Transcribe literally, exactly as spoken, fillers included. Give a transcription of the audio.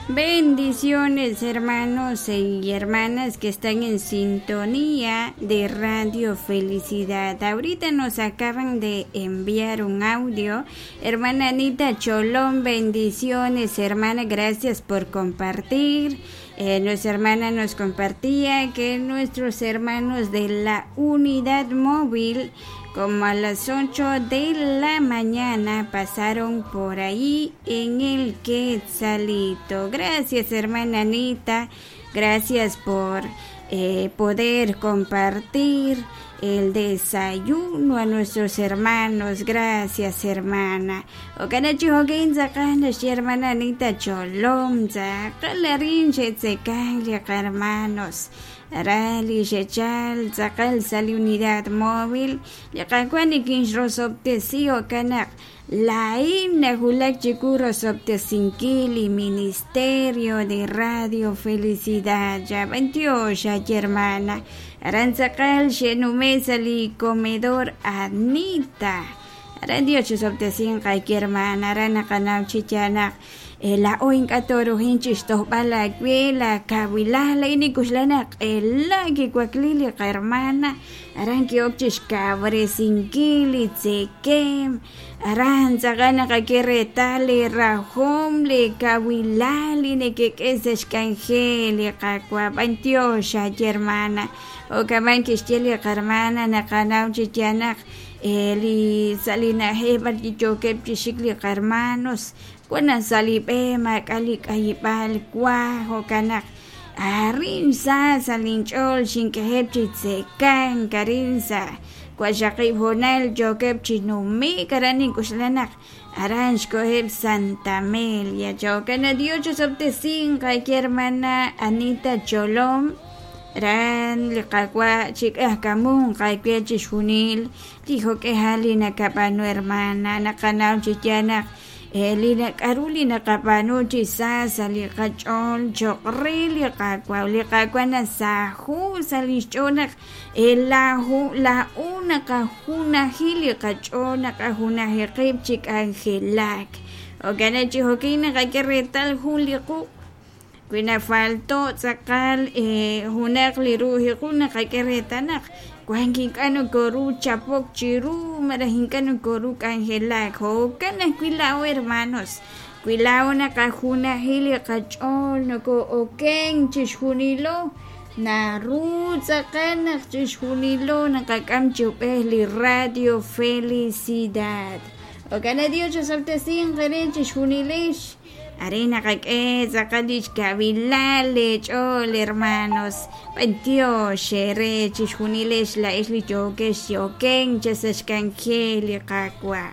Bendiciones, hermanos y hermanas que están en sintonía de Radio Felicidad. Ahorita nos acaban de enviar un audio. Hermana Anita Cholón, bendiciones, hermana, gracias por compartir. Eh, nuestra hermana nos compartía que nuestros hermanos de la unidad móvil, como a las ocho de la mañana, pasaron por ahí en el Quetzalito. Gracias, hermana Anita. Gracias por eh, poder compartir el desayuno a nuestros hermanos. Gracias, hermana. Hermana Anita Cholom, hermanos. Arali xechal tzaqal sa li unidad móvil li qawa nikinxrosob'tesi jo'kan laa'in najulak chiku rosob'tesinkil li Ministerio de Radio Felicidad. Ya b'antiox ay hermana. Aran tzaqal xe'nume' sa li comedor Anita. Aran Dios chisob'tesin qayki hermana. Aran naqanaw chi yanaq la'o ink'a' toruhin chixtojb'al awe la kawilal la'in nikuxlan q'ela kiwakli li qarhermana aran ki'ok chixkawresinkil li tzekem aran tzaqal naqak'e reetal li rajom li kawilal li nekek'e sa' xk'anjel li qawa b'antiox ay hermana jo'kaman kixye li qarhermana naqanaw chi yanaq li sa' li na'ajej b'ar yookeb' chixik li qarhermanos wan sa' li b'e maak'a' li k'ayib'al wa jo'kan naq arin sa sa' linch'ool xink'ejeb' chi tzekan karin sa' waxaqib' joonal yookeb' chi numik aran nink'uxlan naq aran xkoheb' Santa Amelia. Jo'kan Dios chisob'tesin qayki hermana Anita Cholom ran li qawa chik'ajkamun qayki chixjunil li jok'ejal li nakab'anu hermana naqanaw chi yanaq li nak'aru li naqab'anu chi sa sa' li qach'ool cho'q re li qawa li qawa nasaju sa' li xch'ool naq laju la'u naqajunaji li qach'ool naqajunaji qib' chi k'anjelak jo'kan chi jo'kin naqak'e reetal jun li quq' wi nafalto tz'aqal junaq li ru'uj naqak'e reetal naq wan kink'a' nokoru chapok chiru malaj ink'a' nokoru k'anjelak jo'kan ajwi' la'o hermanos wi la'o naqajunaji li qach'ool noko'oken chixjunilo naru tz'aqal naq chixjunilo naqak'am chi ub'ej li Radio Felicidad. Jo'kan Dios chisob'tesin qere chixjunilix Are naqak'e tz'aqal li xkawilal li ch'ool hermanos b'antiox xere chixjunilix la'ex li yookex yoken chasa xk'anjel li qawa.